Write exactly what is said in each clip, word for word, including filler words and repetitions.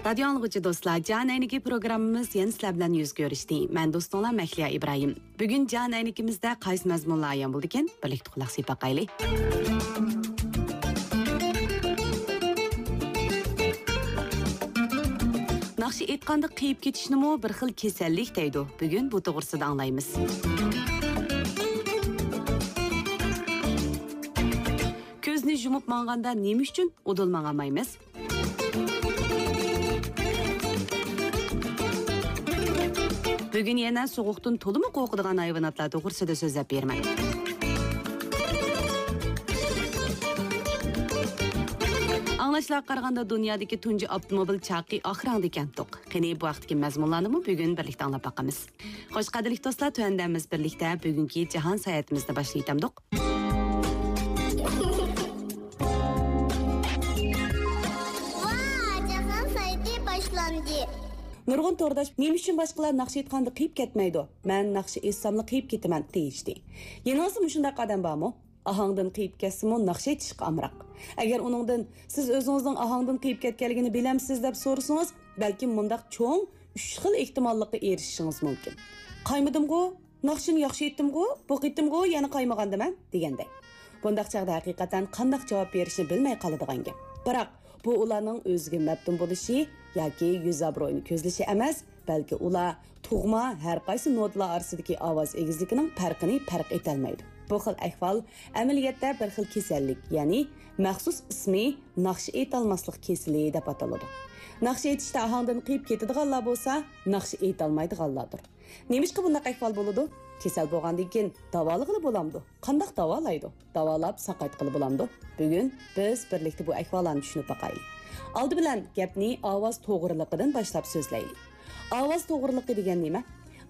رادىيو ئاڭلىغۇچى دوستلار، جان ئەينىكى پروگراممىمىز يەنە سىلەر بىلەن يۈز كۆرۈشتى. مەن دوستۇڭلار مەھلىيا ئىبراھىم. بۈگۈن جان ئەينىكىمىزدە قايسى مەزمۇنلار ئايان بولىدىكەن؟ بىرلىكتە قۇلاق سېلىپ باقايلى. ناخشا ئېيتقاندا قېيىپ كېتىشنىمۇ بىر خىل كېسەللىك دەيدۇ. بۈگۈن بۇ توغرىسىدا ئاڭلايمىز. كۆزنى يۇمۇپ ماڭغاندا نېمە ئۈچۈن ئۇدۇل ماڭالمايمىز؟ بۈگۈن يەنە سوغۇقتىن تولىمۇ قورقىدىغان ھايۋاناتلار توغرىسىدا سۆزلەپ بېرىمەن. ئاڭلاشلارغا قارىغاندا، دۇنيادىكى تۇنجى ئاپتوموبىل چاقى ئاخىراڭدىكەنتۇق. قېنى، بۇ ھەقتىكى مەزمۇنلارنىمۇ بۈگۈن بىرلىكتە ئاڭلاپ باقىمىز. خوش، قەدىرلىك دوستلار، تۆۋەندە بىز بىرلىكتە بۈگۈنكى جاھان ساياھىتىمىزنى باشلاۋېتەمدۇق. ۋا، جاھان سايتى باشلاندى. نۇرغۇن تورداش، نېمە ئۈچۈن باشقىلار ناخشا ئېيتقاندا قېيىپ كەتمەيدۇ؟ مەن ناخشا ئېيتساملا قېيىپ كېتىمەن، دېيىشتى. يېنىڭىزدا مۇشۇنداق ئادەم بارمۇ؟ ئاھاڭدىن قېيىپ كەتسىمۇ، ناخشا ئېيتىشقا ئامراق. ئەگەر ئۇنىڭدىن، سىز ئۆزىڭىزنىڭ ئاھاڭدىن قېيىپ كەتكەنلىكىنى بىلەمسىز، دەپ سورىسىڭىز، بەلكىم مۇنداق چوڭ ئۈچ خىل ئېھتىماللىققا ئېرىشىشىڭىز مۇمكىن. قايمىدىمغۇ؟ ناخشىنى ياخشى ئېيتتىمغۇ؟ بۇ قېتىمغۇ يەنە قايمىغاندىمەن؟ دېگەندەك. بۇنداق چاغدا ھەقىقەتەن قانداق جاۋاب بېرىشنى بىلمەي قالىدىغان گەپ. بىراق، بۇ ئۇلارنىڭ ئۆزىگە مەپتۇن بولۇشى ياكى يۈز ئابرۇيىنى كۆزلىشى ئەمەس، بەلكى ئۇلار تۇغما ھەر قايسى نوتىلار ئارىسىدىكى ئاۋاز ئېگىزلىكىنىڭ پەرقىنى پەرق ئېتەلمەيدۇ. بۇ خىل ئەھۋال ئەمەلىيەتتە بىر خىل كېسەللىك، يەنى مەخسۇس ئىسمى ناخشا ئېيتالماسلىق كېسىلى دەپ ئاتىلىدۇ. ناخشا ئېيتىشتا ئاھاڭدىن قېيىپ كېتىدىغانلار بولسا، ناخشا ئېيتالمايدىغانلاردۇر. نېمىشقا بۇنداق ئەھۋال بولىدۇ؟ كېسەل بولغاندىن كېيىن داۋالىغىلى بولامدۇ؟ قانداق داۋالايدۇ؟ داۋالاپ ساقايتقىلى بولامدۇ؟ بۈگۈن بىز بىرلىكتە بۇ ئەھۋاللارنى چۈشىنىپ باقايلى. ئالدى بىلەن گەپنى ئاۋاز توغرىلىقىدىن باشلاپ سۆزلەيلى. ئاۋاز توغرىلىقى دېگەن نېمە؟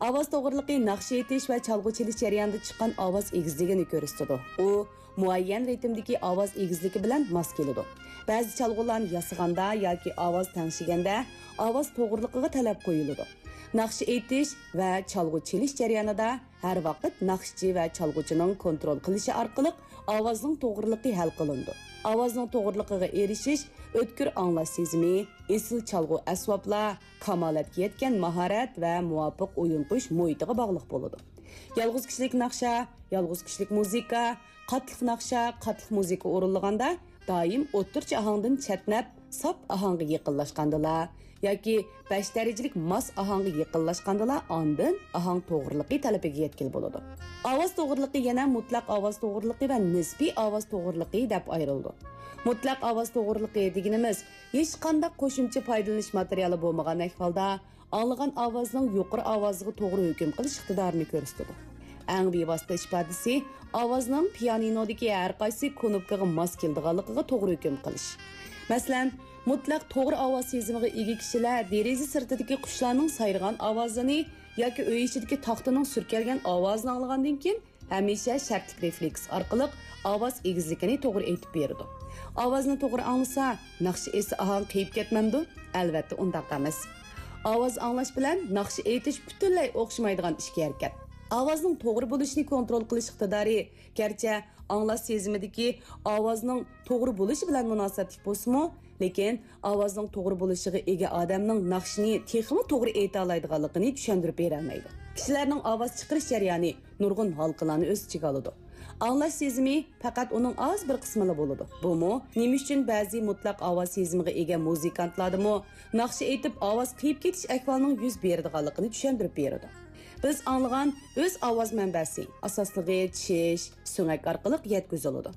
ئاۋاز توغرىلىقى ناخشا ئېيتىش ۋە چالغۇ چېلىش جەريانىدا چىققان ئاۋاز ئېگىزلىكىنى كۆرسىتىدۇ. ئۇ مۇئەييەن رىتىمدىكى ئاۋاز ئېگىزلىكى بىلەن ماس كېلىدۇ. بەزى چالغۇلارنى ياسىغاندا ياكى ئاۋاز تەڭشىگەندە ئاۋاز توغرىلىقىغا تەلەپ قويۇلىدۇ. ناخشا ئېيتىش ۋە چالغۇ چېلىش جەريانىدا ھەر ۋاقىت ناخشىچى ۋە چالغۇچىنىڭ كونترول قىلىشى ئارقىلىق ئاۋازنىڭ توغرىلىقى ھەل قىلىنىدۇ. ئاۋازنىڭ توغرىلىقىغا ئېرىشىش ئۆتكۈر ئاڭلاش سېزىمى، ئېسىل چالغۇ ئەسۋابلار، كامالەتكە يەتكەن ماھارەت ۋە مۇۋاپىق ئويۇن قويۇش مۇھىتىغا باغلىق بولىدۇ. يالغۇز كىشىلىك ناخشا، يالغۇز كىشىلىك مۇزىكا، قاتلىق ناخشا، قاتلىق مۇزىكا ئورۇنلىغاندا دائىم ئوتتۇرىچە ئاھاڭدىن چەتنەپ، ساپ ئاھاڭغا يېقىنلاشقاندىلا ياكى بەش دەرىجىلىك ماس ئاھاڭغا يېقىنلاشقاندىلا ئاندىن ئاھاڭ توغرىلىقى تەلىپىگە يەتكىلى بولىدۇ. ئاۋاز توغرىلىقى يەنە مۇتلەق ئاۋاز توغرىلىقى ۋە نىسپىي ئاۋاز توغرىلىقى دەپ ئايرىلىدۇ. مۇتلەق ئاۋاز توغرىلىقى دېگىنىمىز ھېچقانداق قوشۇمچە پايدىلىنىش ماتېرىيالى بولمىغان ئەھۋالدا ئاڭلىغان ئاۋازنىڭ يۇقىرى ئاۋازىغا توغرا ھۆكۈم قىلىش ئىقتىدارىنى كۆرسىتىدۇ. ئەڭ بىۋاسىتە ئىپادىسى ئاۋازنىڭ پىيانىنودىكى ھەر قايسى كۇنۇپكىغا ماس كېلىدىغانلىقىغا توغرا ھۆكۈم قىلىش. مەسىلەن، مۇتلەق توغرا ئاۋاز سېزىمىغا ئىگە كىشىلەر دېرىزە سىرتىدىكى قۇشلارنىڭ سايرىغان ئاۋازىنى ياكى ئۆي ئىچىدىكى تاختىنىڭ سۈركەلگەن ئاۋازىنى ئاڭلىغاندىن كېيىن، ھەمىشە شەرتلىك رېفلېكس ئارقىلىق ئاۋاز ئېگىزلىكىنى توغرا ئېيتىپ بېرىدۇ. ئاۋازنى توغرا ئاڭلىسا، ناخشا ئېيتسا ئاھاڭ قېيىپ كەتمەمدۇ؟ ئەلۋەتتە ئۇنداق ئەمەس. ئاۋاز ئاڭلاش بىلەن ناخشا ئېيتىش پۈتۈنلەي ئوخشىمايدىغان ئىككى ھەرىكەت. ئاۋازنىڭ توغرا بولۇشىنى كونترول قىلىش ئىقتىدارى، گەرچە ئاڭلاش سېزىمىدىكى ئاۋازنىڭ توغرا بولۇشى بىلەن مۇناسىۋەتلىك بولسىمۇ، لېكىن ئاۋازنىڭ توغرا بولۇشىغا ئىگە ئادەمنىڭ ناخشىنى تېخىمۇ توغرا ئېيتالايدىغانلىقىنى چۈشەندۈرۈپ بېرەلمەيدۇ. كىشىلەرنىڭ ئاۋاز چىقىرىش جەريانى نۇرغۇن ھالقىلارنى ئۆز ئىچىگە ئالىدۇ. ئاڭلاش سېزىمى پەقەت ئۇنىڭ ئاز بىر قىسمىلا بولىدۇ. بۇمۇ نېمە ئۈچۈن بەزى مۇتلەق ئاۋاز سېزىمىغا ئىگە مۇزىكانتلاردىمۇ ناخشا ئېيتىپ ئاۋاز قېيىپ كېتىش ئەھۋالىنىڭ يۈز بېرىدىغانلىقىنى چۈشەندۈرۈپ بېرىدۇ. بىز ئاڭلىغان ئۆز ئاۋاز مەنبەسى، ئاساسلىقى چىش، سۆڭەك ئارقىلىق يەتكۈزۈلىدۇ.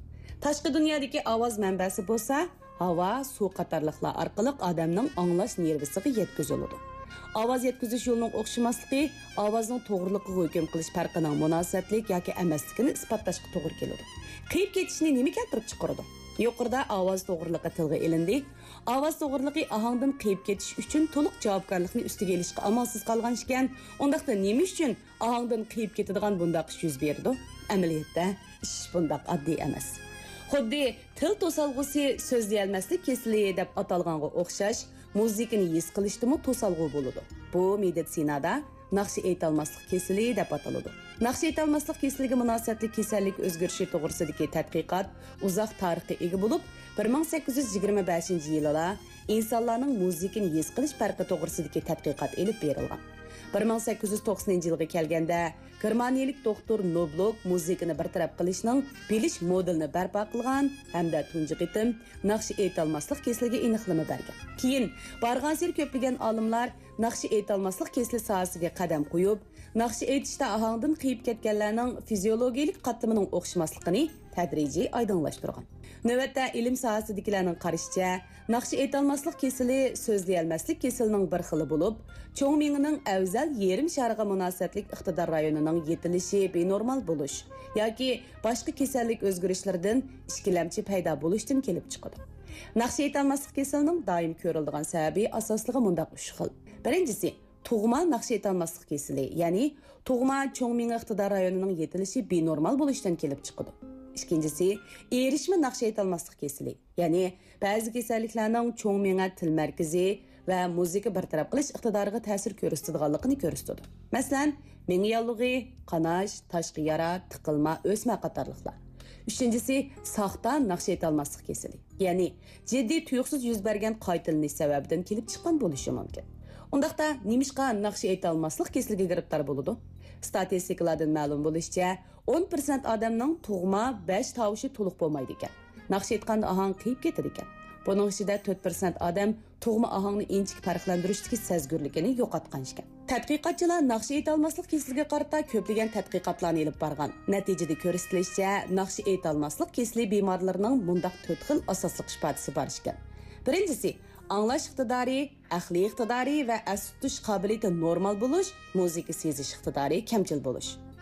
تاشقى دۇنيادىكى ئاۋاز مەنبەسى بولسا، ھاۋا، سۇ قاتارلىقلار ئارقىلىق ئادەمنىڭ ئاڭلاش نېرۋىسىغا يەتكۈزۈلىدۇ. ئاۋاز يەتكۈزۈش يولىنىڭ ئوخشىماسلىقى ئاۋازنىڭ توغرىلىقىغا ھۆكۈم قىلىش پەرقىنىڭ مۇناسىۋەتلىك ياكى ئەمەسلىكىنى ئىسپاتلاشقا توغرا كېلىدۇ. قېيىپ كېتىشنى نېمە كەلتۈرۈپ چىقىرىدۇ؟ يۇقىرىدا ئاۋاز توغرىلىقى تىلغا ئېلىندى. ئاۋاز توغرىلىقى ئاھاڭدىن قېيىپ كېتىش ئۈچۈن تولۇق جاۋابكارلىقنى ئۈستىگە ئېلىشقا ئامالسىز قالغان ئىكەن، ئۇنداقتا نېمە ئۈچۈن ئاھاڭدىن قېيىپ كېتىدىغان بۇنداق ئىش يۈز بېرىدۇ؟ ئەمەلىيەتتە ئىش بۇنداق ئاددىي ئەمەس. خۇددى تىل توسالغۇسى سۆزلىيەلمەسلىك كېسىلى دەپ ئاتالغانغا ئوخشاش، مۇزىكىنى ھېس قىلىشتىمۇ توسالغۇ بولىدۇ. بۇ مېدىتسىنادا ناخشا ئېيتالماسلىق كېسىلى دەپ ئاتىلىدۇ. ناخشا ئېيتالماسلىق كېسىلىگە مۇناسىۋەتلىك كېسەللىك ئۆزگىرىشى توغرىسىدىكى تەتقىقات ئۇزاق تارىخقا ئىگە بولۇپ، بىر مىڭ سەككىز يۈز يىگىرمە بەشىنچى يىلىلا ئىنسانلارنىڭ مۇزىكىنى ھېس قىلىش پەرقى توغرىسىدىكى تەتقىقات ئېلىپ بېرىلغان. بىر مىڭ سەككىز يۈز توقسىنىنچى يىلغا كەلگەندە، گېرمانىيەلىك دوختۇر نوبلوك مۇزىكىنى بىر تەرەپ قىلىشنىڭ بىلىش مودېلىنى بەرپا قىلغان ھەمدە تۇنجى قېتىم ناخشا ئېيتالماسلىق كېسىلىگە ئېنىقلىما بەرگەن. كېيىن بارغانسېرى كۆپلىگەن ئالىملار ناخشا ئېيتالماسلىق كېسىلى ساھەسىگە قەدەم قويۇپ، ناخشا ئېيتىشتا ئاھاڭدىن قېيىپ كەتكەنلەرنىڭ فىزىيولوگىيەلىك قاتلىمىنىڭ ئوخشىماسلىقىنى تەدرىجىي ئايدىڭلاشتۇرغان. نۆۋەتتە ئىلىم ساھەسىدىكىلەرنىڭ قارىشىچە، ناخشا ئېيتالماسلىق كېسىلى سۆزلىيەلمەسلىك كېسىلىنىڭ بىر خىلى بولۇپ، چوڭ مېڭىنىڭ ئەۋزەل يېرىم شارىغا مۇناسىۋەتلىك ئىقتىدار رايونىنىڭ يېتىلىشى بىنورمال بولۇش ياكى باشقا كېسەللىك ئۆزگىرىشلىرىدىن ئىككىلەمچى پەيدا بولۇشتىن كېلىپ چىقىدۇ. ناخشا ئېيتالماسلىق كېسىلىنىڭ دائىم كۆرۈلىدىغان سەۋەبى ئاساسلىقى مۇنداق ئۈچ خىل. بىرىنچىسى، تۇغما ناخشا ئېيتالماسلىق كېسىلى، يەنى تۇغما چوڭ مېڭە ئىقتىدار رايونىنىڭ يېتىلىشى بىنورمال بولۇشتىن كېلىپ چىقىدۇ. ئىككىنچىسى، ئېرىشمە ناخشا ئېيتالماسلىق كېسىلى، يەنى بەزى كېسەللىكلەرنىڭ چوڭ مېڭە تىل مەركىزى ۋە مۇزىكا بىر تەرەپ قىلىش ئىقتىدارىغا تەسىر كۆرسىتىدىغانلىقىنى كۆرسىتىدۇ. مەسىلەن، مېڭە ياللۇغى، قاناش، تاشقى يارا، تىقىلما، ئۆسمە قاتارلىقلار. ئۈچىنچىسى، ساختا ناخشا ئېيتالماسلىق كېسىلى. يەنى جىددىي تۇيۇقسىز يۈز بەرگەن قايتىلىنىش سەۋەبىدىن كېلىپ چىققان بولۇشى مۇمكىن. ئۇنداقتا نېمىشقا ناخشا ئېيتالماسلىق كېسىلىگە گىرىپتار بولىدۇ؟ ستاتىستىكىلاردىن مەلۇم بولۇشىچە، ئون پىرسەنت ئادەمنىڭ تۇغما بەش تاۋۇشى تولۇق بولمايدىكەن. ناخشا ئېيتقاندا ئاھاڭ قېيىپ كېتىدىكەن. بۇنىڭ ئىچىدە تۆت پىرسەنت ئادەم تۇغما ئاھاڭنى ئىنچىكە پەرقلەندۈرۈشتىكى سەزگۈرلۈكىنى يوقاتقان ئىكەن. تەتقىقاتچىلار ناخشا ئېيتالماسلىق كېسىلىگە قارىتا كۆپلىگەن تەتقىقاتلارنى ئېلىپ بارغان. نەتىجىدە كۆرسىتىلىشىچە، ناخشا ئېيتالماسلىق كېسىلى بىمارلىرىنىڭ مۇنداق تۆت خىل ئاساسلىق ئىپادىسى بار ئىكەن. بىرىنچىسى، ئاڭلاش ئىقتىدارى، ئەقلىي ئىقتىدارى ۋە ئەستە تۇتۇش قابىلىيىتى نورمال بولۇش، مۇزىكا سېزىش ئىقتىدارى كەمچىل بولۇش.